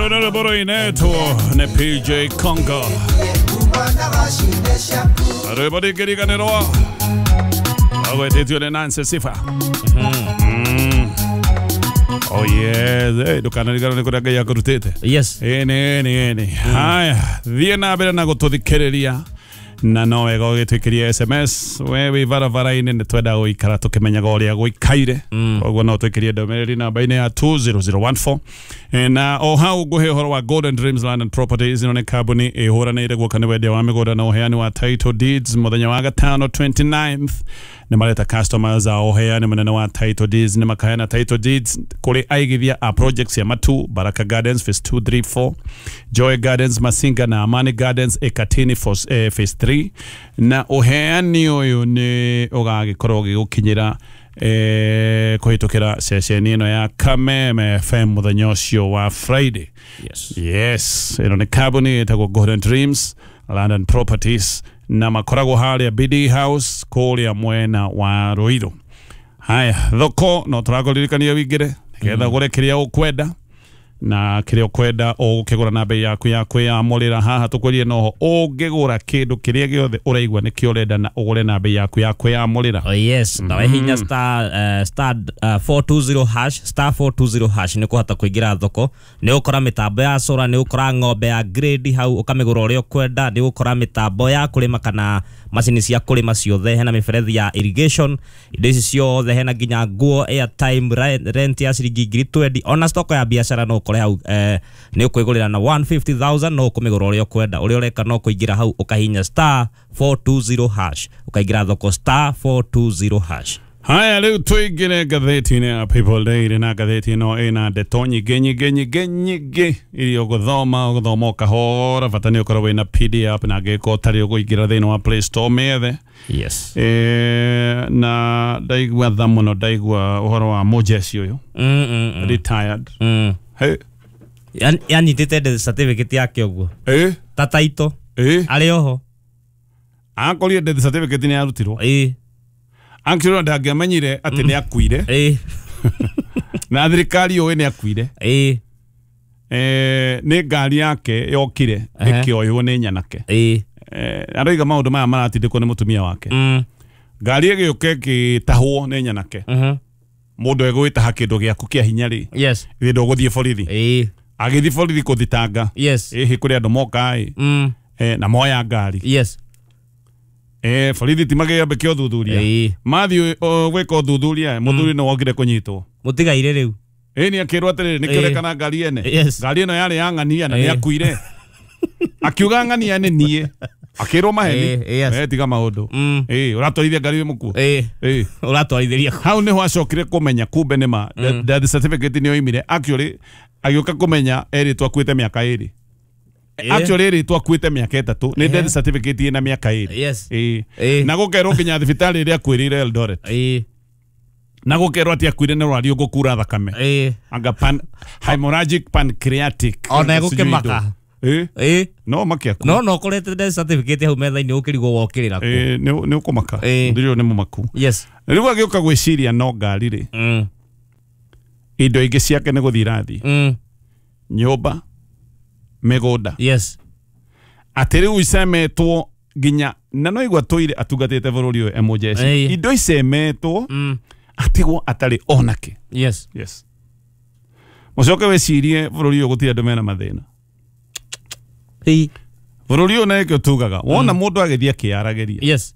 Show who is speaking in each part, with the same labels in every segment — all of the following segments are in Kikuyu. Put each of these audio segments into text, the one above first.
Speaker 1: Rwĩmbo nĩ PJ Congo. Rwĩmbo ndingĩriganĩrwo agwetĩtio nĩ Nancy Sifa. Oh yes, hey, ndũkanariganĩrwo nĩ kũrĩa Ngai akũrutĩte.
Speaker 2: Yes.
Speaker 1: Ĩni ĩni ĩni. Haya, thiĩ na mbere na gũtũthikĩrĩria na no wega ũgĩtwĩkĩria SMS we wĩ barabara-inĩ nĩ twenda gũikara tũkĩmenyaga ũrĩa gũikaire koguo no twĩkĩrie ndũmĩrĩri namba-inĩ ya 20014. Na o hau ngũhe ũhoro wa Golden Dreams Land and Properties. Ĩno nĩ kambuni ĩhũranĩire guoka nĩ wendia wa mĩgũnda na ũheani wa title deeds. Mũthenya wa gatano 29th nĩ mareta customers a ũheani mũnene wa title deeds. Nĩ makaheana title deeds kũrĩ aigithia a projects ya Matu, Baraka Gardens phase 2 3 4, Joy Gardens Masinga na Amani Gardens Ekatini phase 3. Na ũheani ũyũ nĩ ũgagĩkorwo ũgĩgũkinyĩra kũhĩtũkĩra ceceni ĩno ya Kameme FM mũthenya ũcio wa Friday.
Speaker 2: Yes.
Speaker 1: Yes, ĩno nĩ kambuni ĩtagwo Golden Dreams Land and Properties na makoragwo harĩa BD House kũrĩa mwena wa Ruiru. Haya, thoko no tũrakũririkania wĩingĩre nĩgetha ũgũre kĩrĩa ũkwenda na kĩrĩa ũkwenda ũgũkĩgũra na bei yaku ya kwĩyamũrĩra. Haha tũkwĩrire noho ũngĩgũra kĩndũ kĩrĩa gĩothe ũraigua nĩkĩo ũrenda na ũgũre na bei yaku ya kwĩyamũrĩra.
Speaker 2: Oh yes, na wehinya star star 420 hash, star 420 hash nĩ ũkũhota kũingĩra thoko. Nĩ ũgũkora mĩtambo ya solar, nĩ ũgũkora ng'ombe ya grade hau ũkamĩgũra ũrĩa ũkwenda, nĩ ũgũkora mĩtambo ya kũrĩma kana macini cia kũrĩma ciothe, hena mĩberethi ya irrigation, indo ici ciothe, hena nginya nguo, airtime, rent ya ciringi 20,000, ona stock ya biacara no ũkore hau. Nĩ ũkwĩgũrĩra na 150,000 no ũkũmĩgũra ũrĩa ũkwenda. Ũrĩa ũreka no kũingĩra hau ũkahinya star 420 hash, ũkaingĩra thoko star 420 hash.
Speaker 1: Haya, rĩu tũingĩre ngathĩti-inĩ ya People Daily, na ngathĩti ĩno ĩna ndeto nyingĩ nyingĩ nyingĩ nyingĩ iria ũgũthoma ũgũthoma ũkahora. Bata nĩ ũkorwo wĩna PDF na angĩkorwo ũtarĩ ũkũingĩra thĩinĩ wa Play Store mĩethe.
Speaker 2: Yes.
Speaker 1: Na ndaigua tha mũno, ndaigua ũhoro wa mũjeshi ũyũ retired. Hey.
Speaker 2: Yanyitĩte death certificate yake ũguo ta taito arĩ oho.
Speaker 1: Akorire death certificate nĩ yarutirwo. Actually ndangĩamenyire atĩ nĩ akuire. Na thirikari yũĩ nĩ akuire. Nĩ ngari yake yokire ĩkĩoywo nĩ nyanake. Aroiga maũndũ maya maratindĩkwo nĩ mũtumia wake. Ngari ĩgĩũka ĩgĩtahwo nĩ nyanake. Mũndũ egwĩtaha kĩndũ gĩaku kĩa hinya rĩ.
Speaker 2: Yes.
Speaker 1: Githĩ ndũgũthiĩ borithi. Agĩthiĩ borithi kũthitanga.
Speaker 2: Yes.
Speaker 1: Ĩhĩ kũrĩ andũ moka ĩ. Na moya ngari.
Speaker 2: Yes.
Speaker 1: Borithi ti magĩambe ũthuthuria. Mathiĩ gwĩka ũthuthuria, mũthuri nĩ wokire kũnyitwo.
Speaker 2: Mũtigaire rĩu.
Speaker 1: Nĩ akĩrwo atĩrĩrĩ, nĩkĩo ũrekana ngari ene.
Speaker 2: Yes.
Speaker 1: Ngari ĩno yarĩ ya ng'ania na nĩ akuire. Akiuga ng'ania nĩ niĩ. Akĩrwo maheni.
Speaker 2: Yes.
Speaker 1: Tiga maũndũ. Ũratwarithia ngari wĩ mũkuo.
Speaker 2: Ũratwarithĩria.
Speaker 1: Hau nĩho acokire kũmenya kumbe nĩ ma. Death certificate nĩ yoimire. Actually agĩũka kũmenya erĩtwo akuĩte mĩaka 2. Actually erĩtwo akuĩte mĩaka 3. Nĩ death certificate ĩna mĩaka 2.
Speaker 2: Yes.
Speaker 1: Na gũkerwo nginya thibitarĩ ĩrĩa akuĩrĩire Eldoret. Na gũkerwo atĩ akuire nĩ rwari ũgũkura thakame. Anga pan hemorrhagic pancreatic.
Speaker 2: Ona egũkĩmaka.
Speaker 1: No makiaku.
Speaker 2: No ũkorete death certificate hau metha-inĩ ũkĩrigwo wokĩrĩra kũ.
Speaker 1: Nĩ ũkũmaka. Mũthuri ũyũ nĩ mũmaku.
Speaker 2: Yes.
Speaker 1: Rĩu agĩũka gwĩciria no ngari rĩ. Indo ingĩ ciake nĩ gũthiĩ irathiĩ. Nyũmba, mĩgũnda.
Speaker 2: Yes.
Speaker 1: Atĩ rĩu icemetwo nginya na no igua tũire atungatĩte bũrũri ũyũ e mũjeshi. Indo icemetwo atigwo atarĩ onake.
Speaker 2: Yes.
Speaker 1: Yes. Mũcoke wĩcirie bũrũri ũyũ gũtirĩ andũ mena mathĩna. Bũrũri ũyũ nĩkĩo tugaga wona mũndũ agĩthiĩ akĩyaragĩria.
Speaker 2: Yes.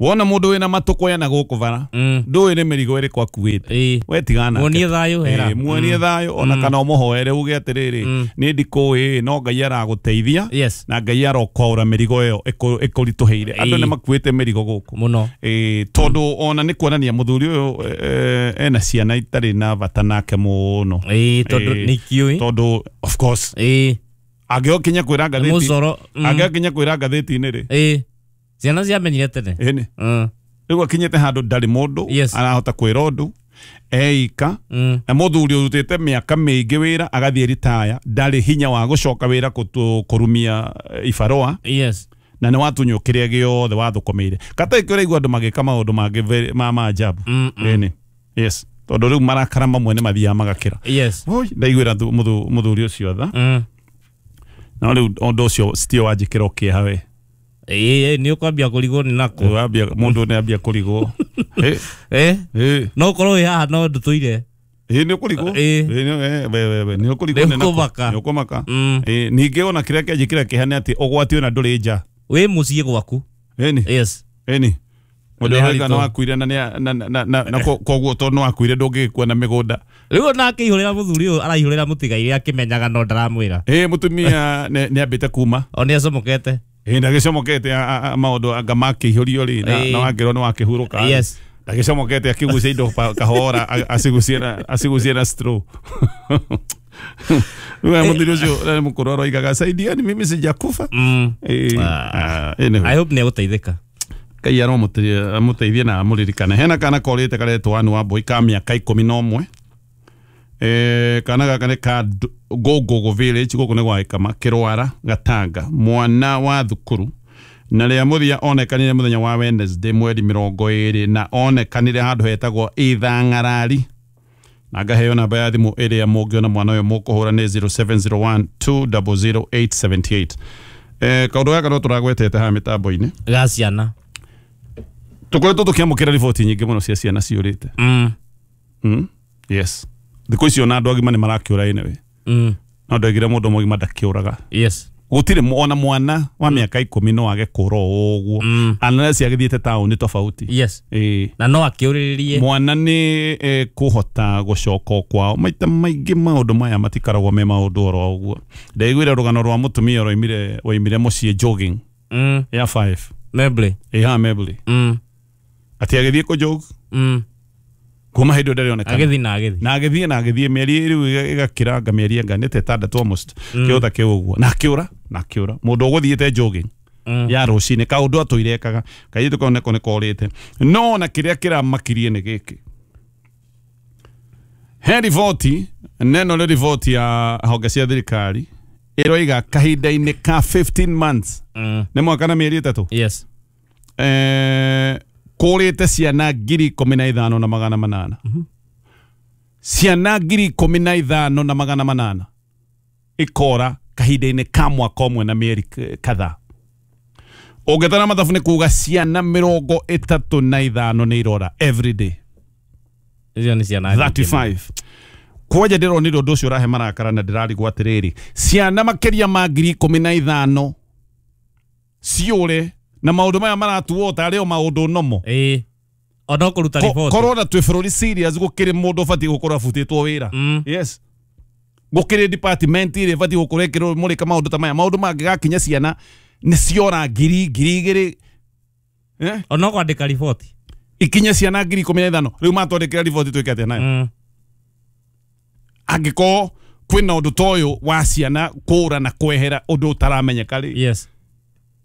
Speaker 1: Wona mũndũ wĩna matũkũya na gũkũ bara ndũĩ nĩ mĩrigo ĩrĩkũ akuĩte. We tigana nake.
Speaker 2: Muonie thayũ hera.
Speaker 1: Muonie thayũ ona kana ũmũhoere uge atĩrĩrĩ nĩ ndikũĩ no Ngai aragũteithia.
Speaker 2: Yes.
Speaker 1: Na Ngai arokwaũra mĩrigo ĩyo ĩkũritũhĩire. Andũ nĩ makuĩte mĩrigo gũkũ
Speaker 2: mũno.
Speaker 1: Tondũ ona nĩ kuonania mũthuri ũyũ ena ciana itarĩ na bata nake mũno.
Speaker 2: Tondũ nĩ kĩũĩ.
Speaker 1: Tondũ of course angĩokinya kwĩra ngathĩti. Angĩokinya kwĩra ngathĩti-inĩ rĩ.
Speaker 2: Ciana ciamenyire tene.
Speaker 1: Ĩni. Rĩu akinyĩte handũ ndarĩ mũndũ arahota kwĩra ũndũ eika na mũthuri ũrutĩte mĩaka mĩingĩ wĩra agathiĩ ritaya ndarĩ hinya wa gũcoka wĩra kũrumia ibarũa.
Speaker 2: Yes.
Speaker 1: Na nĩ watunywo kĩrĩa gĩothe wathũkũmĩire. Kata ĩkĩo ũraigua andũ magĩka maũndũ mangĩ ma maajabu. Ĩni. Yes. Tondũ rĩu marakara mamwe nĩ mathiaga magakĩra.
Speaker 2: Yes.
Speaker 1: Oi, ndaiguĩra mũthuri ũcio tha. No rĩu ũndũ ũcio sitio wanjĩkĩra kĩeha we.
Speaker 2: Ĩĩ, nĩ ũkwambia kũrigwo nĩ nakũ.
Speaker 1: Wambia mũndũ nĩ ambia kũrigwo.
Speaker 2: No ũkorwo wĩ haha no ndũtũire.
Speaker 1: Ĩĩ, nĩ ũkũrigwo. Nĩ ũkũrigwo
Speaker 2: nĩ ũkũmaka.
Speaker 1: Nĩ ũkũmaka. Ningĩ ona kĩrĩa kĩanjĩkĩra kĩeha nĩ atĩ ũgwati ona ndũrĩ nja.
Speaker 2: Wĩ mũciĩ gwaku.
Speaker 1: Ĩni.
Speaker 2: Yes.
Speaker 1: Ĩni. Mũndũ ũrĩa nĩ wakuire na na koguo tondũ nĩ wakuire ndũngĩgĩkua na mĩgũnda.
Speaker 2: Rĩu ona akĩihũrĩra mũthuri ũyũ araihũrĩra mũtigairĩ akĩmenyaga no ndaramwĩra.
Speaker 1: Ĩĩ, mũtumia nĩ ambĩte kuma.
Speaker 2: O nĩ acomokete.
Speaker 1: Ĩĩ, ndagĩcomokete maũndũ anga makĩihũrio rĩ na wakĩrwo nĩ wakĩhurũka.
Speaker 2: Yes.
Speaker 1: Ndagĩcomokete akĩgucia indo kahora acigucie na straw. Rĩu mũthuri ũcio mũkũrũ aroigaga saidiani mimi sijakufa.
Speaker 2: I hope nĩ egũteithĩka.
Speaker 1: Ngai aromũteithie na amũririkane. Hena kana korĩte karetwo Anne Wambui ka mĩaka 11. Kana gaka nĩ ka Ngũngũgũ village gũkũ nĩ gwa Gĩkama Kĩrwara Gatanga, mwana wa thukuru, na rĩa mũthia onekanire mũthenya wa Wednesday mweri 20 na onekanire handũ hetagwo Ithang'arari, na ngaheo namba ya thimũ ĩrĩa mũngĩona mwana ũyũ mũkũhũra nĩ 0701 200 878. Kaũndũ gaka no tũragwetete haha mĩtambo-inĩ
Speaker 2: ga ciana.
Speaker 1: Tũkoretwo tũkĩamũkĩra riboti nyingĩ mũno cia ciana ciũrĩte. Yes. Thikũ icio ona andũ agima nĩ marakĩũra anyway. No ndoigire mũndũ mũgima ndakĩũraga.
Speaker 2: Yes.
Speaker 1: Gũtirĩ ona mwana wa mĩaka 10 no age kũra o ũguo. Unless agĩthiĩte taũni tofauti.
Speaker 2: Yes. Na no akĩũrĩrĩrie.
Speaker 1: Mwana nĩ kũhota gũcoka kwao. Maita maingĩ maũndũ maya matikaragwo me maũndũ oro ũguo. Ndaiguire rũgano rwa mũtumia waimire mũciĩ jogging. Ya 5.
Speaker 2: Mebley.
Speaker 1: Ĩha Mebley. Ati agĩthiĩ kũjog. Kuma hĩndĩ ndarĩ onekana.
Speaker 2: Agĩthiĩ na agĩthiĩ.
Speaker 1: Na agĩthiĩ na agĩthiĩ mĩeri rĩu ĩgakĩranga mĩeri anga nĩ ta 6 almost. Kĩũta kĩu ũguo. Na akĩũra, na akĩũra. Mũndũ ũgũthiĩte jogging. Ya rũcinĩ kaũndũ atũire ekaga. Kairĩtu kau nako nĩ korĩte. No na kĩrĩa kĩramakirie nĩ gĩkĩ. He riboti, neno nĩ riboti ya honge cia thirikari ĩroiga kahinda-inĩ ka 15 months. Nĩ mwaka na mĩeri 3.
Speaker 2: Yes.
Speaker 1: Kũrĩte ciana 15,800. Ciana 15,800 ikora kahinda-inĩ ka mwaka ũmwe na mĩeri kadhaa. Ũngĩtara mathabu nĩ kuga ciana 35 nĩ irora every day.
Speaker 2: Icio nĩ ciana
Speaker 1: 35. Kwanja ndĩronire ũndũ ũcio ũrahe marakara na ndĩrarigwo atĩrĩrĩ, ciana makĩria ma 15,000 ciũre na maũndũ maya maratuo tarĩ o maũndũ nomo.
Speaker 2: Ĩĩ. Ona kũruta riboti.
Speaker 1: Korwo na twĩ bũrũri serious gũkĩrĩ mũndũ ũbatiĩ gũkorwo abutĩtwo wĩra. Yes. Gũkĩrĩ department ĩrĩa ĩbatiĩ gũkorwo ĩkĩrwo mũrĩka maũndũ ta maya. Maũndũ mangĩgakinya ciana nĩ ciora 1,000 2,000.
Speaker 2: Ona kwandĩka riboti.
Speaker 1: Ikinye ciana 15,000. Rĩu matwandĩkĩra riboti twĩke atĩa nayo? Angĩkorwo kwĩna ũndũ ta ũyũ wa ciana kũũra na kwehera ũndũ ũtaramenyeka rĩ.
Speaker 2: Yes.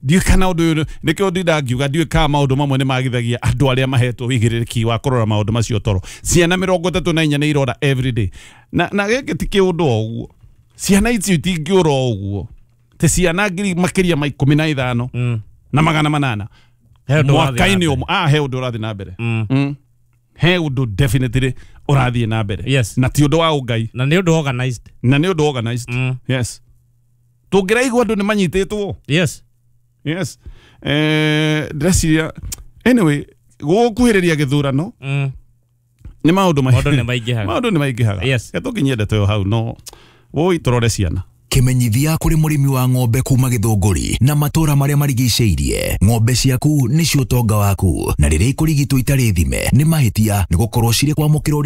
Speaker 1: Ndiũĩ kana ũndũ ũyũ nĩkĩo ndinda ngiuga ndiũĩ kana maũndũ mamwe nĩ magithagia andũ arĩa mahetwo wĩigĩrĩrĩki wa kũrora maũndũ macio toro. Ciana 34 nĩ irora every day. Na gĩkĩ ti kĩũndũ o ũguo. Ciana icio itingĩũra o ũguo. Te ciana ngiri makĩria ma 15 na 800. Mwaka-inĩ ũmwe. He ũndũ ũrathiĩ na mbere. He ũndũ definitely ũrathiĩ na mbere.
Speaker 2: Yes.
Speaker 1: Na ti ũndũ wa ũngai.
Speaker 2: Na nĩ ũndũ organized.
Speaker 1: Na nĩ ũndũ organized. Yes. Tũngĩraigua andũ nĩ manyitĩtwo.
Speaker 2: Yes.
Speaker 1: Yes. Ndĩreciria anyway gũkuhĩrĩria gĩthurano nĩ maũndũ
Speaker 2: maingĩhaga.
Speaker 1: Maũndũ nĩ maingĩhaga.
Speaker 2: Yes.
Speaker 1: Tũkinyie ndeto ĩyo hau no woi tũrore ciana.
Speaker 3: Kimenyithia kuri murimi wa ng'ombe kuma Githunguri na matura maria marigiceirie. Ng'ombe ciaku nicio utonga waku na riria ikurigitwo itari thime ni mahitia ni gukorwo ciri kwamukirwo.